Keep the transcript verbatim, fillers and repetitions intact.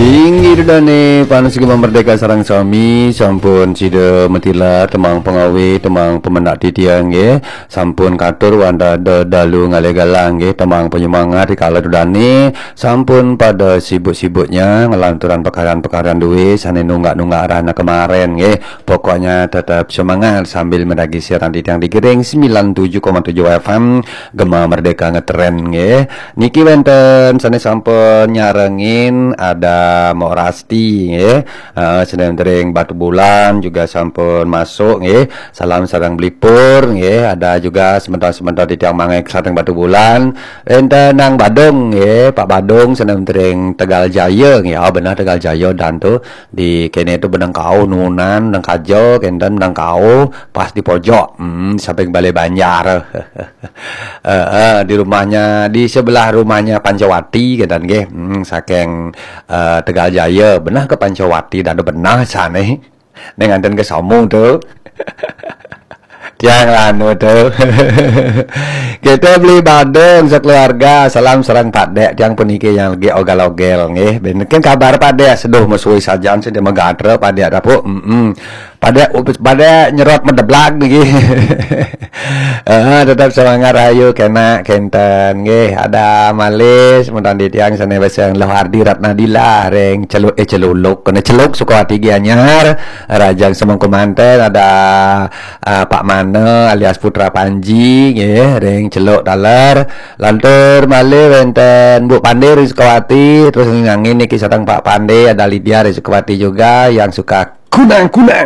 Inggih dane panusi Gema Merdeka sareng sami, sampun sida matilar tembang pangawe, tembang pemendak titiang nggih. Sampun katur wanda dalu ngalih galang nggih, tembang penyemangat rikala dane sampun pada sibuk-sibuknya ngelanturan pekaran-pekaran duwe sane nunggak-nunggak rahna kemaren nggih. Pokoknya tetap semangat sambil meragi siaran titiang di Gering sembilan tujuh koma tujuh F M Gema Merdeka ngetren nggih. Niki wenten sane sampun nyarengin ada Mok Rasti nggih. Uh, sane tering Batu Bulan juga sampun masuk nggih. Salam sareng Belipur nggih. Ada juga semeton-semeton titiang mangek sareng Batu Bulan. Wenten nang Badung nggih, Pak Badung sane tering Tegal Jaya nggih. Oh, bener Tegal Jaya dan tu di kene tu benang kau nunan nang kaja kenten benang kau pas di pojok. Hmm, samping Balai Banjar. Eh, eh, di rumahnya, di sebelah rumahnya Pancawati kenten nggih. Hmm, saking eh, Tegal Jaya benah ke Pancawati dan benah sane. Neng anten ke somo tu. Tiang lanu tu. Kita beli Badung sekeluarga. Salam sareng Pak Dek tiang puniki yang lagi ogal-ogel nggih. Ben ken kabar Pak Dek seduh mesui sajan sida megatra Pak Dek dapuk. Mm-mm. Pada pada nyerot medeblag niki. Eh, tetap semangat rahayu kena kenten nggih. Ada Malis mudan di tiang sane beseng Loh Ardi Ratnadila ring celuk eh celuluk kena celuk Sukawati Gianyar. Rajang Semengku Manten ada uh, Pak Mana alias Putra Panji nggih ring celuk taler. Lantur malih wenten Bu Pande ring Sukawati, terus ngangin niki sareng Pak Pande, ada Lydia ring Sukawati juga yang suka kunang-kunang.